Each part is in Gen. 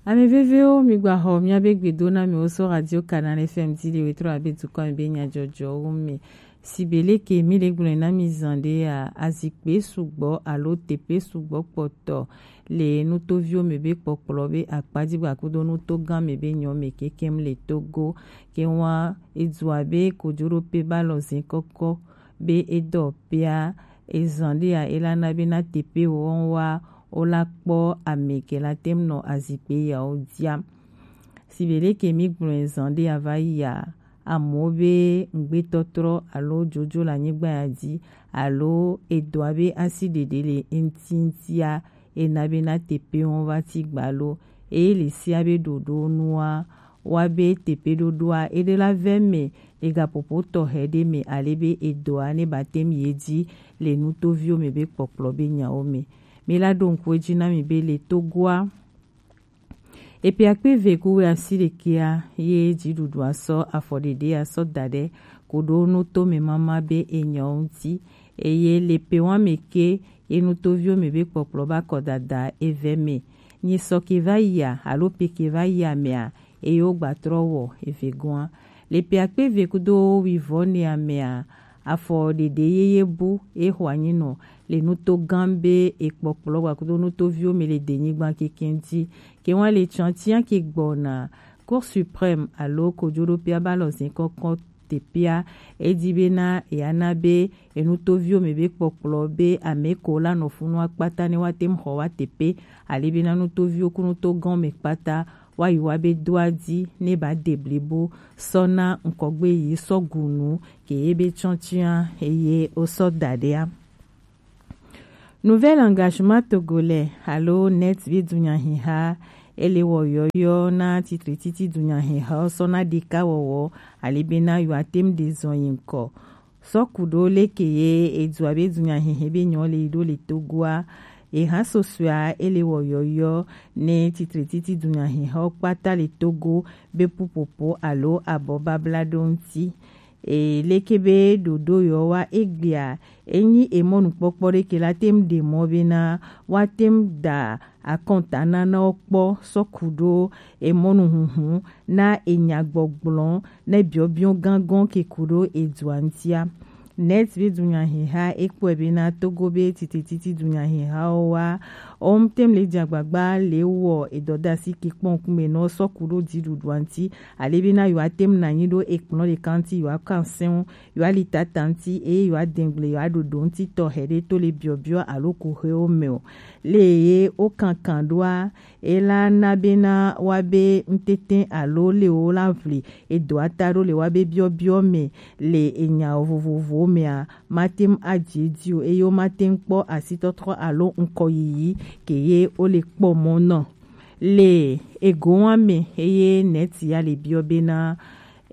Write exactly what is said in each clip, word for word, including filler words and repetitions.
Ame vevewo, mi gba xɔ miabe gbedo na mi wo so Radio Canal F M ti le wetro abe dukɔ mi be nyajɔjɔwo me. Sibeleke mi le gblɔe na mi zan ɖe a, azikpe sugbɔ alo teƒe sugbɔ kpɔtɔ le nutoviwo me be kpɔkplɔ be akpaji gbakudo nuto gã me be nyɔ me kekem le Togo. Ke wa edu abe kojoɖope ba lɔ zin kɔkɔ be edɔ pea ezan ɖe a, ela na be na teƒe wɔn wa wola kpɔ ame ke la tem nɔ azikpe yawo dia. Sibeleke mi gblɔe zan ɖe a va yi a, amewo be ŋgbetɔtrɔ alo jojo le anyigba ya dzi alo edɔa be asi ɖeɖe le eŋti ŋtia, ena be na teƒe wɔn va ti gbalo. Eye le sia be ɖoɖo nua, wa be teƒe ɖoɖoa eɖe la vɛ me le gaƒoƒo tɔxɛ ɖe me ale be edɔa ne ba tem ye dzi le nutoviwo me be kpɔkplɔ be nyawo me. Mi la ɖo ŋku edzi na mi be le Togoa, epe akpe eve ku wɛ asi ɖekea ye dziɖuɖua sɔ afɔ ɖeɖe asɔ da ɖe koɖo nuto me mama be enyawo ŋti. Eye le pe wa me ke ye nutoviwo me be kpɔkplɔ ba kɔ dada evɛ me. Nyi sɔ ke va yia alo pe ke va yia mea, eye wo gba trɔ wɔ eve gɔa. Le pe akpe eve kudo wivɔ nea mea, afɔ ɖeɖe yeye bu e xɔ anyi nɔ le nuto gã be ekpɔkplɔ gba kudo nutoviwo me le denyigba keke ŋti. Ke wa le tsantia ke gbɔna Cour suprême alo kojoɖoƒea ba lɔ zin kɔkɔ teƒea, edi be na ya na be enutoviwo me be kpɔkplɔ be ame ko la nɔ funua kpata ne wa tem xɔ wa teƒe, ale be na nutoviwo ku nuto gã me kpata wa yi wa be doa di ne ba de blibo sɔ na ŋkɔgbe yi sɔ gunu ke ye be tsɔntsɔa eye o sɔ da ɖea. Nouvel Engagement Togolais alo Net be dunyahiha ele wɔ yɔyɔ na titre titi dunyahiha sɔ na ɖeka wɔwɔ ale be na yɔ atem de zɔn yi ŋkɔ. Sɔ kuɖo leke ye edua be dunyahihe be nyɔ le yi ɖo le Togoa. Eha sosɔa ele wɔ yɔyɔ ne titre titi dunyahihawo kpata le Togo be pupopo alo abɔ babla ɖo ŋti. E leke be ɖoɖo yɔ wa egbea, enyi emɔnukpɔkpɔ ɖeke la tem ɖe mɔ be na wa tem da akɔnta nanawo kpɔ sɔ kuɖo emɔnuhunhun na enyagbɔgblɔ ne biɔbiɔ gangɔn ke kuɖo edua ŋtia. Net be dunyahiha ekpɔe be na Togo be titititi dunyahihawo wa, ɔm tem le dze agbagba le wɔ edɔdasi ke kpɔn kume nɔ sɔ kuɖo dziɖuɖua ŋti, ale be na yɔ atem na nyi ɖo ekplɔ ɖeka ŋti yɔ akan sɛn yɔ ali tata ŋti eye yɔ adengble yɔ aɖoɖo ŋti tɔxɛ ɖe to le biɔbiɔ alo kuxewo me o. Le ye wo kankan ɖoa, ela na be na wa be ŋtete alo le wo la vli edo ata ɖo le wa be biɔbiɔ me le enya vovovowo mea, mate ŋu adzi edzi o eye womate ŋu kpɔ asitɔtrɔ alo ŋkɔyiyi ke ye wole kpɔ mɔ nɔ. Le egowa me eye neti ya le biɔ bena,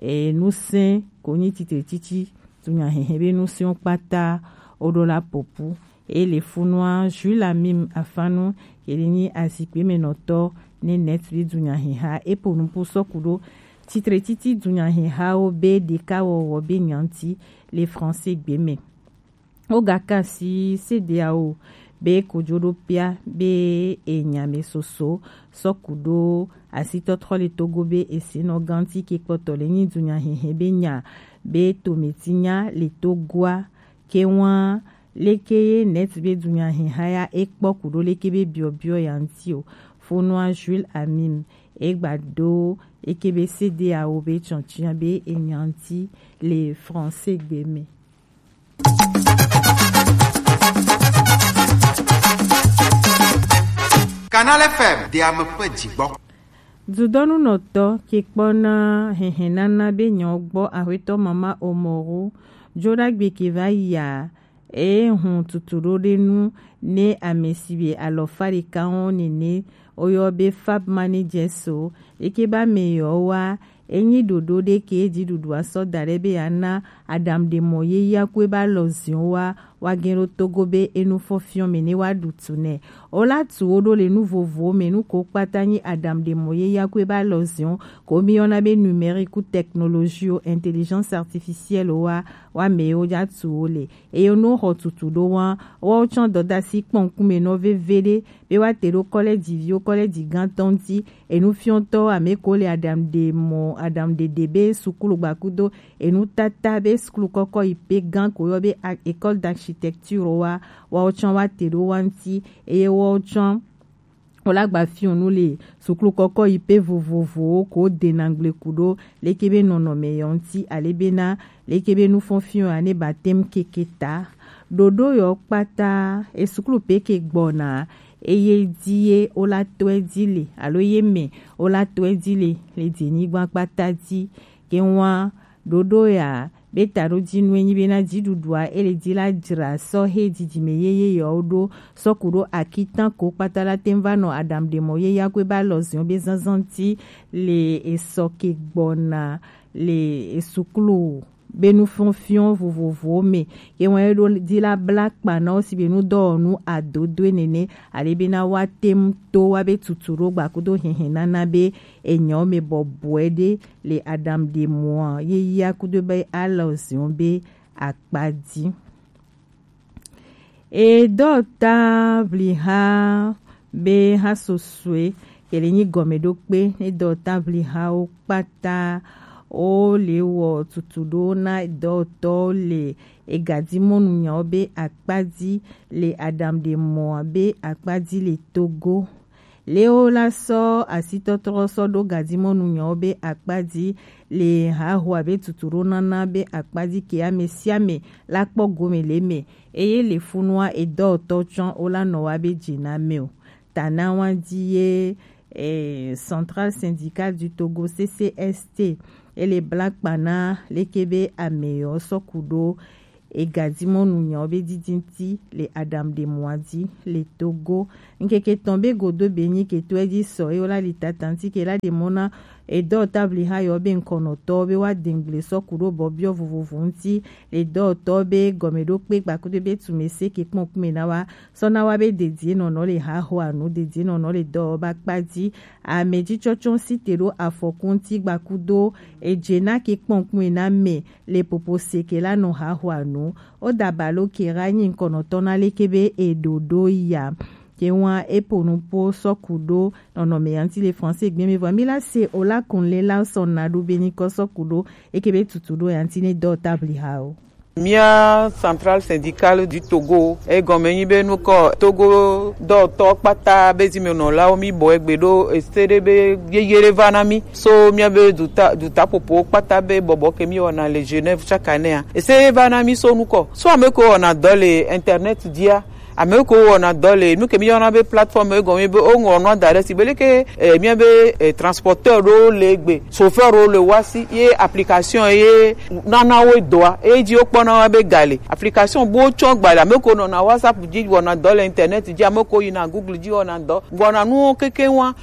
e, nusẽ ko nyi titre titi dunyahehe be nusẽwo kpata woɖo la popu. Eye le funua Jules Amim Afanu, ke le nyi azikpe me nɔtɔ ne net be dunyaheha, epo nupo sɔku ɖo titre titi dunyahehawo be ɖekawɔwɔ be nyanti le français gbe me. Wogaka asi CEDEAO be kojoɖoƒea be enyame soso sɔku ɖo asitɔtrɔ le Togo be esenɔ ganti ke kpɔtɔ le nyi dunyahehe be nya be tometinya le Togoa ke wa leke ye net be dunyaheha ya ekpɔ ku ɖo leke be biɔbiɔ ya ŋti o. Fonua Jules Amim egba ɖo eke be CEDEAO be tsɔntsɔnya be enya ŋti le français gbe me. Canal F M, de ame ƒe dzigbɔ. Dudɔnunɔtɔ ke kpɔna hehenana be nyawo gbɔ, Aƒetɔ Mama Omoru Joɖagbe ke va yia, eye hun tutu ɖo ɖe nu ne ame si be alɔfa ɖeka wo nene woyɔ be Fab Managers o, eke be ame yewo wa Enyi ɖoɖo ɖe ke ji ɖuɖu asɔ da ɖe be ya na aɖaŋuɖemɔ yeyakue ba lɔ ziɔn wa wa gɛn ɖo Togo be enu fɔn fiɔn mɛ ne wa ɖu tu nɛ. O la tu wo ɖo le nu vovowo mɛ, nu ko kpata nyi aɖaŋuɖemɔ yeyakue ba lɔ ziɔn ko mi yɔna be numérique ou technologie ou intelligence artificielle wa wa mɛ wo ja tu wo le. Eye no xɔ tutu ɖo wa wa wo tsɔn dɔdasi kpɔnkume nɔ veve ɖe be wa te ɖo kɔlɛji viwo kɔlɛji gãtɔ ŋuti. Enufiɔtɔ ame ko le aɖaŋuɖe mɔ aɖaŋuɖeɖe be sukulu gbakudo enutata be sukulu kɔkɔ yi pe gã ko yɔ be a- école d'architecture wa wa wo tsɔn wa te ɖo wa ŋuti. Eye wa wo tsɔn wo la gba fiɔnu le sukulu kɔkɔ yi pe vovovowo ko dena gble ku ɖo leke be nɔnɔme yɔ ŋuti ale be na leke be nufɔnfiɔ ya ne ba tem keke ta. Ɖoɖo yɔ kpata esukulu pe ke gbɔna eye di ye wo la tɔe di le alo ye mɛ wo la tɔe di le le dinyigba kpata di. Ke wa ɖoɖo ya be ta ɖo di nu enyi be na dziɖuɖua ele di la dzra sɔ he didime yeye yɔ wo ɖo sɔ ku ɖo akitan ko kpata la tem va nɔ aɖaŋuɖemɔ yeyakue ba lɔ ziɔn be zanzan ti le esɔ ke gbɔna le esukulu be nufɔnfiɔn vovovowo mɛ. Ye wɔn ye ɖo di la bla kpa na wo si be nu dɔwɔnu adodoe nene ale be na wa tem to wa be tutu ɖo gbakudo hɛhɛ nana be enyɔ mɛ bɔbɔe ɖe le aɖaŋuɖemɔa yeyakue ba lɔ ziɔn be akpa di. E dɔta vliha be ha sosoe kele nyi gɔmeɖokpe ne dɔta vlihawo kpata wo le wɔ tutu ɖo na dɔtɔwo le egadimɔnu nyawo be akpa di le aɖaŋuɖemɔa be akpa di le Togo. Lewo la sɔ asitɔtrɔ sɔ ɖo gadimɔnu nyawo be akpa di le haho abe tutu ɖo nana be akpa di ke ame sia ame la kpɔ gome le mɛ. Eye le funua edɔtɔ tsɔn wo la nɔ wa be dzi na mɛ o. Ta na wa di ye eh, Centrale Syndicale du Togo C C S T ele bla kpa na leke be ame yɔ sɔ ku ɖo egadimɔnu nyawo be didi ŋuti le aɖaŋuɖemɔa di le Togo. Ŋkeke tɔn be godo be nyi ke to edzi sɔ ye wo la li tata ŋuti ke la ɖe mɔ na edɔ tabli ha yɔ be ŋkɔnɔtɔ be wa dengble sɔ ku ɖo bɔbiɔ vovovo ŋuti le dɔtɔ be gɔmeɖokpe kpakudo be tume se ke kpɔn kume na wa sɔ na wa be dedie nɔnɔ le hahoa nu dedie nɔnɔ le dɔ ba kpa di ame jitsɔtsɔ si te ɖo afɔku ŋuti gbakudo edze na ke kpɔn kume na me le popo se ke la nɔ hahoa nu. O dabalo ke ra nyi ŋkɔnɔtɔ na leke be eɖoɖo ya. Ke wa epo nu po sɔ ku ɖo nɔnɔme ya ŋuti le français gbe me vɔ mi la se o la kun le la sɔ na ɖo be ni kɔ sɔ ku ɖo eke be tutu ɖo ya ŋuti ne dɔ tabli ha o. Mía Centrale Syndicale du Togo egɔme nyi be nukɔ Togo dɔtɔ kpata be zimenɔlawo mi bɔ egbe ɖo ese ɖe be yeye ɖe va na mi so mía be duta dutaƒoƒowo kpata be bɔbɔ ke mi wɔna le Genève chaque année a ese ɖe va na mi so nukɔ so ame ko wɔna dɔ le internet dia ame ko wɔna dɔ le nu ke mi yɔna be plateforme egɔme be woŋlɔ nua da ɖe si be leke eh, mía be eh, transporteur ɖo le gbe chauffeur ɖo le wa si ye application ye nana wo dɔa eye dzi wokpɔna wa be ga le application bo tsɔ gba le ame ko nɔna WhatsApp dzi wɔna dɔ le internet dzi ame ko yina Google dzi wɔna dɔ wɔna nuwo keke wa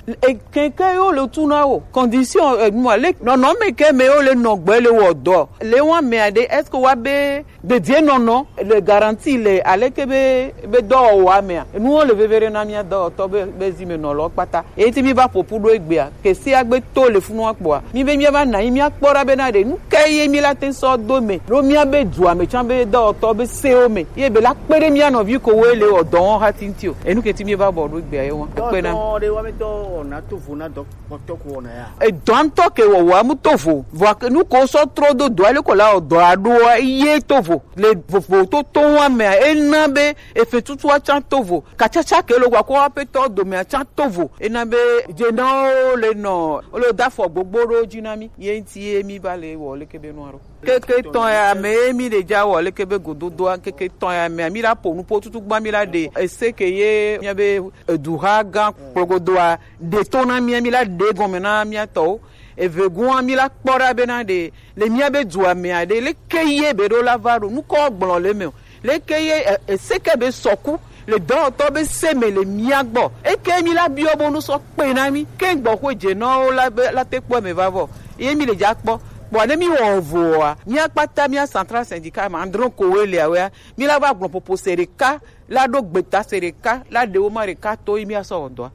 keke yo le tu na wo condition enua le nɔnɔme ke me yo le nɔgbe le wɔ dɔ le wa mea ɖe est-ce que wa be dedie nɔnɔ le garanti le aleke be be dɔwɔwɔa mea enuwo le veve ɖe na mía dɔwɔtɔ be be zimenɔlɔ kpata eye ti mi va ƒoƒu ɖo egbea kesi agbe to le funua kpɔa mi be mía va na yi mía kpɔ ɖa be na ɖe nu ke ye mi la te sɔ do me ɖo mía be dua me tsã be dɔwɔtɔ be sewo me ye be la kpe ɖe mía nɔvi ko wo le wɔ dɔ wɔn hati ŋuti o enu ke ti mi va bɔ ɖo egbea ye wɔn ekpe na. Dɔwɔtɔ ɖe wa me dɔ wɔna to vo na dɔ kpɔtɔ ko wɔna ya. Edɔ ŋutɔ ke wɔwɔa mu to vo vɔ nu ko sɔ trɔ do dɔa le ko la wɔ dɔa ɖoa ye to vo le vovo to to wa mea ena be efe tutua tsã to vo katsatsa ke lo gwa ko aƒetɔ domea tsã to vo ena be dzenawo le nɔ wo le da afɔ gbogbo ɖo dzi na mi ye ŋuti ye mi va le wɔ leke be nua ɖo keke tɔn ya me ye mi ɖe dza wɔ leke be gododoa keke tɔn ya mea mi la ƒo nu ƒo tutu gbã mi la ɖe ese ke ye mia be eduha gã kplɔgodoa ɖe to na mía mi la ɖe gɔme na mía tɔwo eve gua mi la kpɔ ɖa bena ɖe le mía be dua mea ɖe leke ye be ɖo la va ɖo nukɔ gblɔ le me o leke ye e- eseke be sɔku le dɔwɔtɔ be se me le mía gbɔ eke mi la biɔ bo nu sɔ kpe na mi ke gbɔ ko dze nɔ la be la te kpɔ me va vɔ Ye mi le dza kpɔ, kpɔ ne mi wɔ voa, mi akpata mi central syndicat ma andron ko we le awea, mi la va gblɔ popo se ɖeka, la ɖo gbeta se ɖeka, la ɖe wo ma ɖeka to yi mi asɔ wɔ dɔa.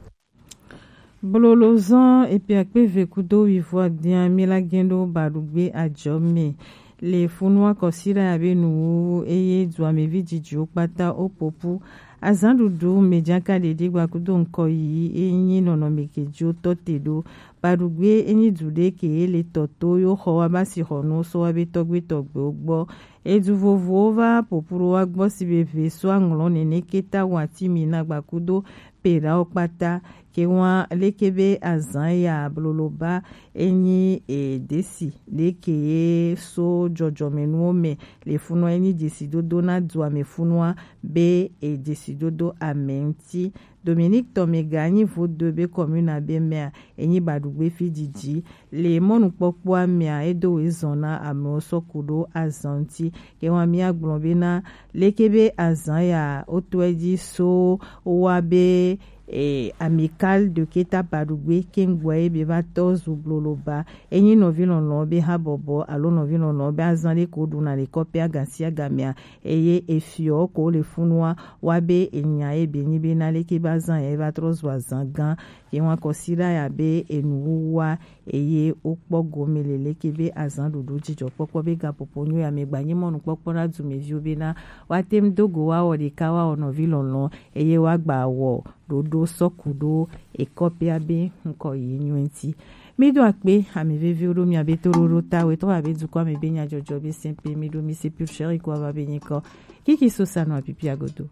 Blolo zɔn epi akpe ve kudo wivo adia mi la gɛn ɖo baɖugbe ajɔ me. Le funua kɔsi ɖe abe nuwuwu eye duamevi dzidziwo kpata wo popu. Azan ɖuɖu me dzaka ɖeɖi gba kudo ŋkɔ yi enyi nɔnɔme ke dzo tɔ te ɖo. Baɖugbe enyi du ɖe ke le tɔ to yo xɔ wa ba si xɔ nu so wa be tɔgbe tɔgbewo gbɔ. Edu vovowo va popu ɖo wa gbɔ si be ve so aŋlɔ nene keta wa ti mi na gba kudo pe ɖawo kpata. Ke wa leke be azan ya blolo ba enyi e desi ɖe ke ye so dzɔdzɔmenuwo me le funɔ enyi dzesidodo na dua me funua be e dzesidodo ame ŋuti. Dominique Tomega enyi vodo be commune abe mea enyi baɖugbe fi didi le mɔnukpɔkpɔa mea edo we zɔn na amewo sɔ ku ɖo azan ŋuti. Ke wa mi agblɔ be na leke be azan ya wotɔe dzi so wa be e, Amical de Keta Baɖugbe kengboa ye be va tɔ zu blolo ba. Enyi nɔvi lɔlɔ be habɔbɔ alo nɔvi lɔlɔ be azan ɖe ko ɖuna le kɔpea gasi agamea eye efiɔ ko le funua wa be enya ye be nyi be na leke be azan ya ye va trɔ zu azan gã. Ye wa kɔsi ɖa ya be enuwuwua eye wokpɔ gome le leke be azan ɖuɖu dzidzɔkpɔkpɔ be gaƒoƒo nyo ya me gba nyi mɔnukpɔkpɔ na dumeviwo be na woate ŋu do go woawɔ ɖeka woawɔ nɔvi lɔlɔ eye woagba wɔ ɖoɖo sɔku ɖo ekɔpea be ŋkɔ yi nyo ŋuti. Mi do akpe ami veviwo ɖo mia be toɖoɖo ta wetɔ abe dukɔ ame be nyadzɔdzɔ be sɛnpe mi ɖo mi se pur sɛri ko ava be nyikɔ kiki sosa nɔ apipia godo.